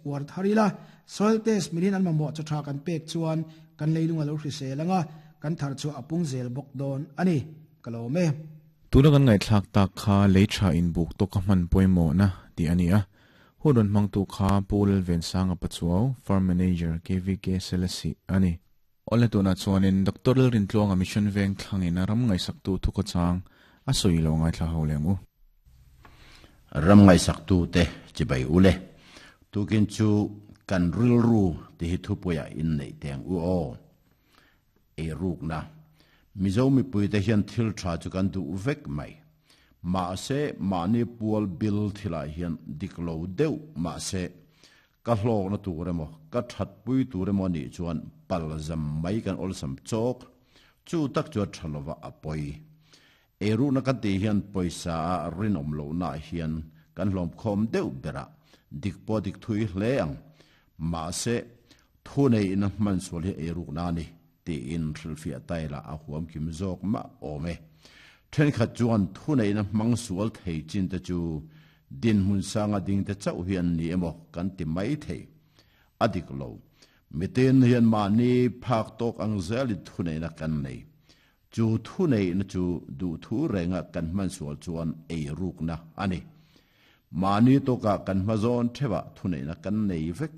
uar thar ila, soil test milin an mamawh chaw tha kan pek chuan kan leilung a lo hrisel anga kan thar chhuah a pung zel bawk dawn a ni. Ka lawm e. Tuna kan ngaihthlak tak kha lei tha inbuk tawka hman pawimawhna tih a ni a. Hun rawn hmangtu kha Pu Lalvensanga Pachuau, Farm Manager, KVK Selesih a ni. Awle tunah chuanin Doctor Lalrintluanga Mission Veng thlangin ram ngaihsaktu thukhawchang a sawi lo ngaithla ho leh ang u. Ram ngaihsaktute chibai u le. Tukin chu kan rilru ti hi thupuiah inneih teng u aw. Eirukna. Mizo mipuite hian thil tha chu kan duh vek mai. Mahse mahni pual bil thilah hian dik lo deuh mahse Ka hlawkna tur emaw, ka thatpui tur emaw anih chuan pal zam mai kan awlsam chawk. Chu tak chu a tha lova a pawi. Eiruhna kan tih hian pawisa a rinawm lohnaah hian kan hlawmkhawm deuh berah dik pawh dik thui hle ang. Mahse, thuneihna hmansual hi eirukna a ni tiin hrilhfiah taila a huam kim zawk mah awm e. Thenkhat chuan thuneihna hmang sual thei chin te chu Dinhmun sanga dingte chauh hi an ni emaw kan ti mai thei. A dik lo. Mitin hian mahni phak tawk ang zelin thuneihna kan nei. Chu thuneihna chu duhthu renga kan hmansual chuan eirukna a ni. Mahni tawkah kan hmazawn theuhah thuneihna kan nei vek.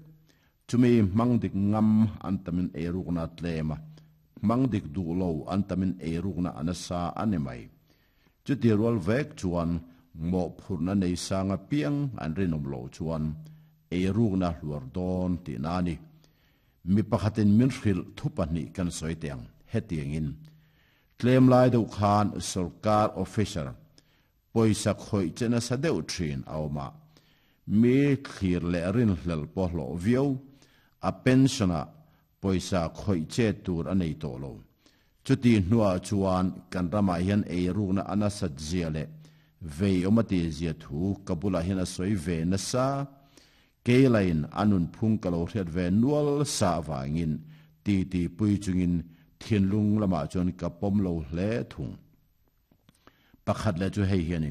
Chumi hmang dik ngam an tamin eirukna a tlem a, hmang dik duh lo an tamin eirukna a nasa a ni mai. Chuti rual vek chuan mawhphurhna nei sang apiang an rinawm loh chuan eirukna hluar dawn tihna a ni. Mi pakhatin min hrilh thu pahnih kan sawi teh ang, hetiangin, Tlem lai deuh khan sorkar officer pawisa khawih che nasa deuh thin a awm a, mi thlir leh rinhlelh pawh hlawh viau, a pension-ah pawisa khawih che tur a nei tawh lo. Chuti hnuah chuan kan ramah hian eirukna a nasat zia leh vei awm a ti zia thu ka bulah hian a sawi ve nasa. Keilain a nunphung ka lo hriat ve nual sa avangin titi pui chungin thinlung lamah chuan ka pawm lo hle thung. Pakhat leh chu hei hi a ni,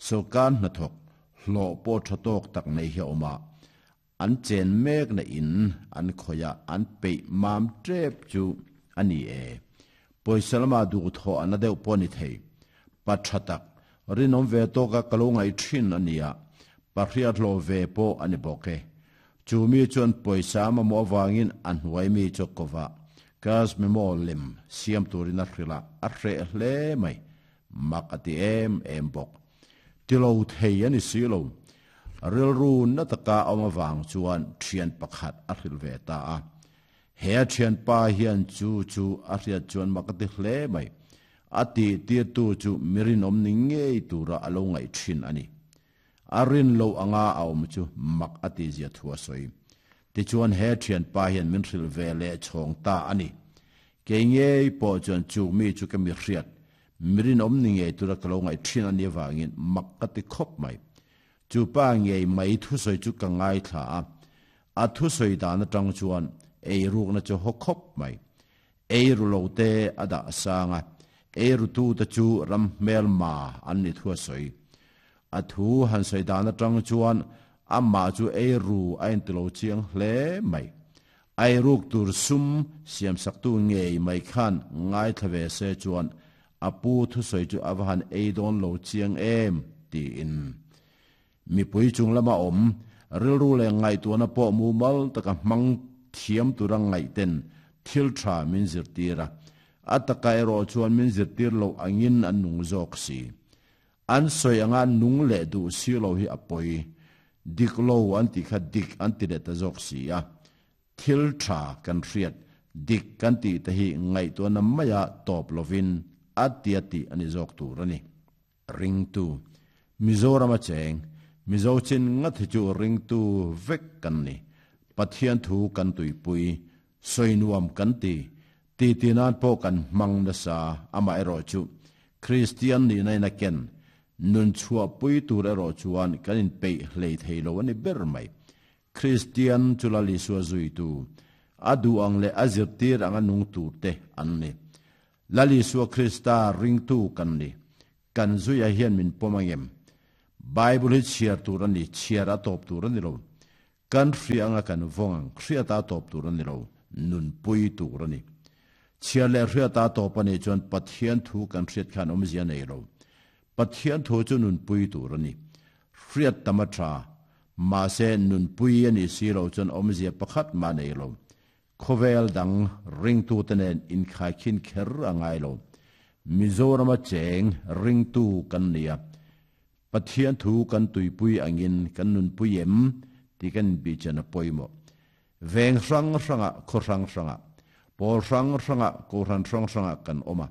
Sawrkar hnathawk hlawh pawh tha tawk tak nei hi a awm a, An chen mek na in an khawih a, an peih mam tep chu a ni e. Pawisa lama duhthawh a na deuh pawh a ni thei. Pa tha tak, rinawm ve tawka ka lo ngaih thin a nia, pa hriathlawh ve pawh a ni bawk e. Chu mi chuan pawisa a mamawh avangin a hnuai mi chu kova cash memo lem siam turin a hrilh a, a hreh hle mai. Mak a ti em em bawk. Ti lo thei a ni si lo. Rilru na taka a awm avang chuan thian pakhat a hrilh ve ta a. He a thianpa hian chu chu a hriat chuan mak a ti hle mai. A tih tirtu chu mi rinawm ni ngei tura a lo ngaih thin a ni. A rin loh anga a awm chu mak a tihzia thu a sawi. Tichuan he thianpa hian min hrilh ve leh chhawng ta a ni. Kei ngei pawh chuan chu mi chu ka mi hriat Mi rinawm ni ngei tura ka lo ngaih thin a nih avangin mak ka ti khawp mai. Chu pa ngei mai thusawi chu ka ngaithla a, a thusawi dan atang chuan eirukna chu haw khawp mai. Eiru lo te a dah sang a, eirutute chu ram hmelma an ni thu a sawi. A thu han sawi dan atang chuan amah chu eiru a inti lo chiang hle mai. Eiruk tur sum siamsaktu ngei mai khan ngaithla ve se chuan a pu thusawi chu a va han ei dawn lo chiang em tiin mipui chung lama awm rilru leh ngaihtuahna pawh mumal taka hmang thiam tura ngaihten thil tha min zirtir a, a taka erawh chuan min zirtir loh angin an nung zawk si. An sawi anga nung leh duh si lo hi a pawi. Dik lo an tih kha dik an ti leh ta zawk si a. Thil tha kan hriat, dik kan tih te hi ngaihtuahna maia tawp lovin a tia tih a ni zawk tur a ni. Ringtu, Mizoram a cheng, Mizo chin ngat hi chu ringtu vek kan ni. Pathian thu kan tuipui, sawi nuam kan ti, Titi nan pawh kan hmang nasa, amaherawh chu Kristian nihna in a ken nun chhuahpui tur erawh chuan kan inpeih hlei thei lo a ni ber mai. Kristian chu Lal Isua zuitu, a duh ang leh a zirtir anga nung turte an ni. Lal Isua Krista ringtu kan ni. Kan zuia hian min pawm angem? Bible hi chhiar tur a ni, chhiar a tawp tur a ni lo. Kan hria anga kan vawng ang, hriata tawp tur a ni lo, nunpui tur a ni. Chhiar leh hriata tawp a nih chuan Pathian thu kan hriat khan awmzia nei lo. Pathian thu chu nunpui tur a ni. Hriat tam a tha, mahse nunpui a nih si loh chuan awmzia pakhat mah nei lo. Khawvel dang ringtute nen inkhaikhin kher a ngai lo. Mizorama cheng ringtu kan ni a, Pathian thu kan tuipui angin kan nunpui em tih kan inbihchen a pawimawh. Veng hrang hrangah, khaw hrang hrangah, pawl hrang hrangah, kohhran hrang hrangah kan awm a.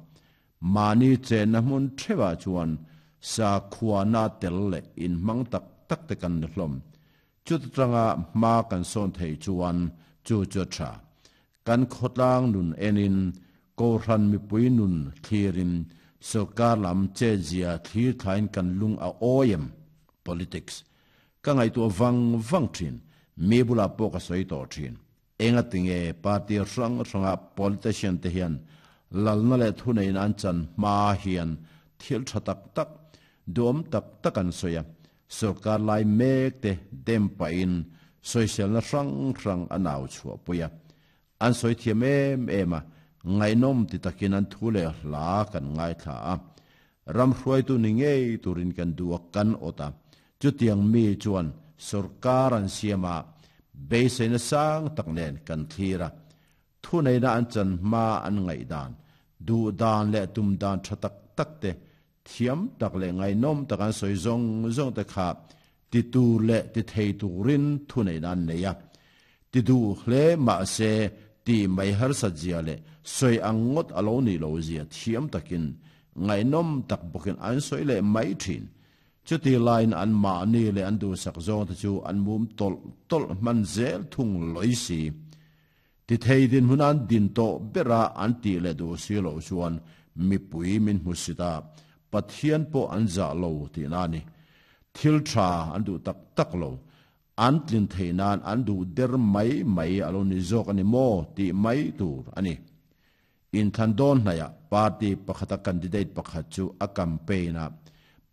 Mahni chenna hmun theuhah chuan sakhuana tel leh inhmang tak tak te kan ni hlawm. Chuta tanga hma kan sawn theih chuan chu chu a tha. Kan khawtlang nun enin, Kohhran mipui nun thlirin, sorkar lam chetzia thlir thlain kan lung a awi em? Politics. Ka ngaihtuah vang vang thin. Mi bulah pawh ka sawi tawh thin. Engatinge party hrang hranga politician te hian lalna leh thuneihna an chan hma hian thil tha tak tak, duhawm tak tak an sawi a, Sorkar lai mek te dem pahin sawiselna hrang hrang a nau chhuah pui a. An sawi thiam em em a, ngaihnawm ti takin an thu leh hla kan ngaithla a. Ram hruaitu ni ngei turin kan duh a kan awt a. Chutiang mi chuan sorkar an siam a, beiseina sang tak nen kan thlir a. Thuneihna an chan hma an ngaihdan, duhdan leh tumdan tha tak tak te Thiam tak leh ngaihnawm tak an sawi zawng zawng te kha ti tur leh ti thei turin thuneihna an nei a. Ti duh hle mahse ti mai harsat zia leh sawi ang ngawt a lo nih lo zia thiam takin ngaihnawm tak bawkin an sawi leh mai thin. Chuti laiin an mahni leh an duhsak zawng te chu an mum tawlh tawlh hman zel thung lawi si. Ti thei dinhmun an din tawh bera an tih leh duh si loh chuan mipui min hmu sit a, Pathian pawh an zah lo tihna a ni. Thil tha an duh tak tak lo, an tlin theih nan an duh der mai mai a lo ni zawk a ni maw tih mai tur a ni. Inthlan dawn hnaihah party pakhata candidate pakhat chu a campaign a,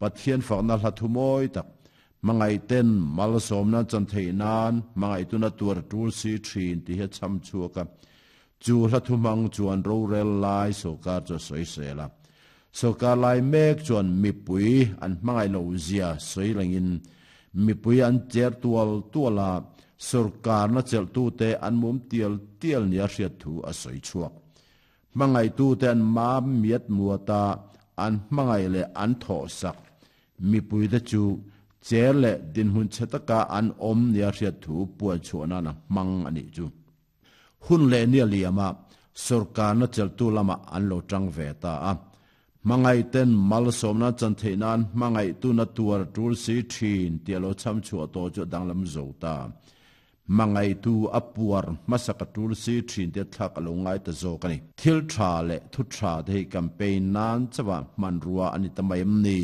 Pathian fakna hla thu mawi tak, hmangaihten malsawmna chan theih nan hmangaihtuna tuar a tul si thin tih hi a chham chhuak a. Chu hla thu hmang chuan rorel lai sawrkar chu a sawi sel a. Sawrkar lai mek chuan mipui an hmangaih loh zia sawi langin mipui an cher tual tual a, sawrkarna chelhtute an mum tial tial nia hriat thu a sawi chhuak. Hmangaihtute an mam miat muat a, an hmangaih leh an thawhsak mipuite chu cher leh dinhmun chhe taka an awm nia hriat thu puan chhuah nan a hmang a nih chu. Hun leh nia liama sawrkarna chelhtu lamah an lo tang ve ta a. Hmangaihten malsawmna chan theih nan hmangaihtuna tuar tul si thin tih a lo chham chhuah tawh chu a danglam zo ta. Hmangaihtu a puar hmasa ka tul si thin te thlak a lo ngai ta zawk a ni. Thil tha leh thu tha te hi campaign nan chauha hmanrua a ni ta mai em ni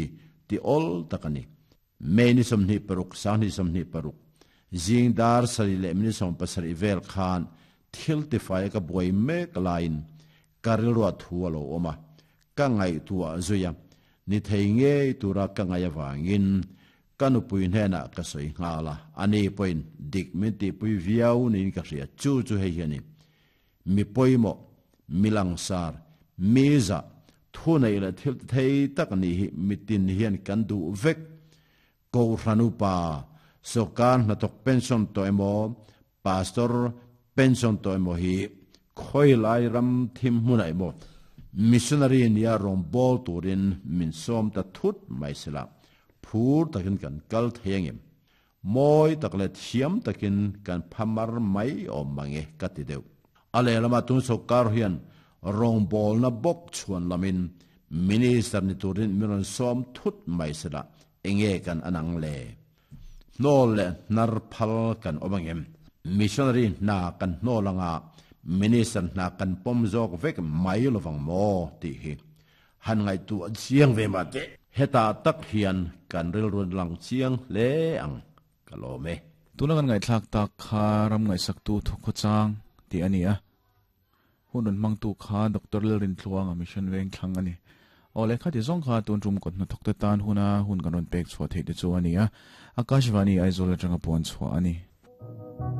ti awl tak a ni. May ni 26, 2026, zing dar sarih leh minute 17 vel khan thil tifai a ka buai mek laiin ka rilruah thu a lo awm a, ka ngaihtuah zui a, ni thei ngei tura ka ngaih avangin ka nupui hnenah ka sawi nghal a, ani pawhin dik min tihpui viau niin ka hria, chu chu hei hi a ni. Mi pawimawh, mi langsar, mi zah, thu neih leh thil ti thei tak nih hi mitin hian kan duh vek. Kohhran upa, sawrkar hnathawk pension tawh emaw, pastor pension tawh emaw hi khawilai ram thim hmunah emaw missionary nia rawngbâwl turin min sawm ta thut mai sela, phur takin kan kal thei angem? Mawi tak leh thiam takin kan phamar mai awm mange ka ti deuh. A lehlamah tun sawrkar hian rawngbawlna bawk chhuan lamin Minister ni turin min rawn sawm thut mai sela enge kan an ang le? Hnawl leh hnar phal kan awm angem? Missionary hna kan hnawl anga Minister hna kan pawm zawk vek mai lovang maw tih hi Han ngaihtuah chiang ve mah teh. Hetah tak hian kan rilru lang chiang hle ang, ka lawm e. Tuna kan ngaihthlak tak kha ram ngaihsaktu thukhawchang tih a ni a. Hun rawn hmangtu kha Doctor Lalrintluanga Mission Vengthlang a ni. Aw le, khati zawng kha tun tum kawt hnathawkte tan huna hun kan rawn pek chhuah theih te chu a ni a. Akashvani Aizawl atanga puan chhuah a ni.